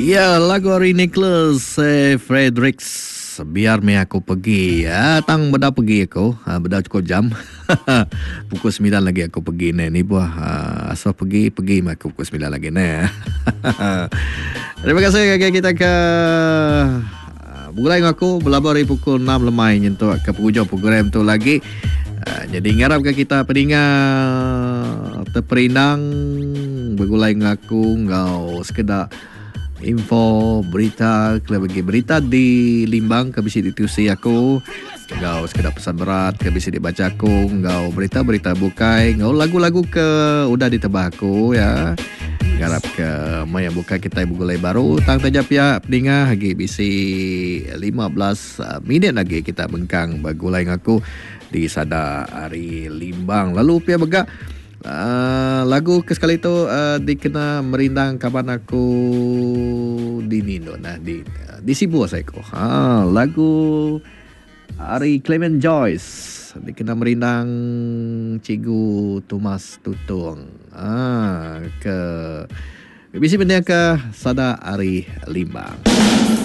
Ya, lagu ari Nicholas eh, Fredericks biar meh aku pergi. Ah, tang beda pergi aku, ah, beda cukup jam. pukul 9 lagi aku pergi ni. Ni buah ah, asal pergi, pergi meh aku pukul 9 lagi ni. Terima kasih ngagai kita ke ah, begulai enggau aku belaba ari pukul 6 lemai nyentuk ke pengujung program tu lagi. Ah, jadi ngarap ke kita peninga teperindang begulai enggau aku enggau sekeda info berita kelebih agi berita di Limbang ke bisi ditusi aku enggau sekeda pesan berat ke bisi dibacha aku enggau berita-berita bukai enggau lagu-lagu ke udah ditebah aku ya. Ngarap ke maya bukai kitai begulai baru tang taja pia peninga agi bisi 15 ah, minit lagi kita mengkang begulai enggau aku di sada ari Limbang. Lalu pia mega Uh, lagu ke sekali tu uh, dikena merindang kaban aku di Nino nah di di Sibu saya ko. Ha lagu ari Clement Joyce dikena merindang Cikgu Thomas Tutung. Ha ke bisi benda ke sada ari Limbang.